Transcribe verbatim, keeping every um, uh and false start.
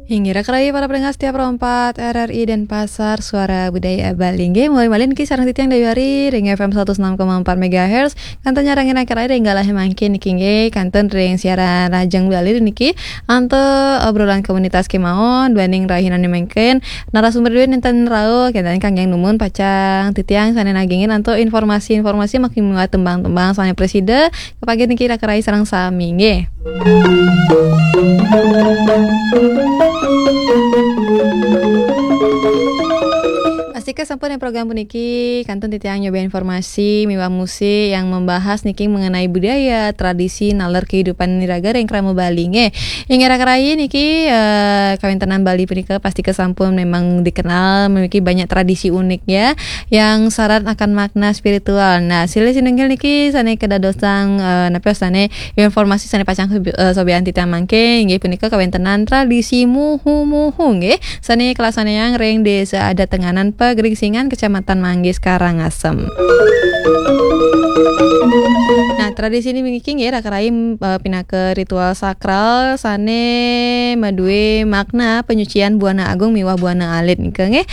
Inggih, raka rayi para pendengar setia Pro empat R R I Denpasar, Suara Budaya Bali. Inggih, mulih malih niki sareng titiang Dewi Ari ring F M seratus enam koma empat megahertz. Kantun nyarengin raka rayi ring galah mangkin niki, inggih, kantun ring siaran Rajang Bali niki. Antuk obrolan komunitas kemawon, duaning rahinané mangkin, narasumber duwé nénten rauh, kénten kangge numun pacang titiang sané nagingin antuk informasi-informasi makin miwah tembang-tembang sané prasida, kapanggih niki raka rayi sareng sami, nggih. Pastika sampun ring program puniki, kantun titiang nyoba informasi miwah musik yang membahas niki mengenai budaya, tradisi, naler kehidupan iraga ring krama Bali, nggih. Inggih raka rayi niki, eh, kawéntenan Bali punika pastika sampun memang dikenal memiliki banyak tradisi unik ya, yang syarat akan makna spiritual. Nah, silih sinunggil niki sané kadadosang, eh, napi sané informasi sané pacang sobi-, eh, sobian titiang mangkin, inggih punika kawéntenan tradisi muhu-muhu, nggih. Sané kalaksanayang ring Désa Adat Tenganan Pagringsingan, Kecamatan Manggis, Karangasem. Nah, tradisi niki nggih raka rayi, eh, pinaka ritual sakral sané madué makna penyucian buana agung miwah buana alit nika nggih.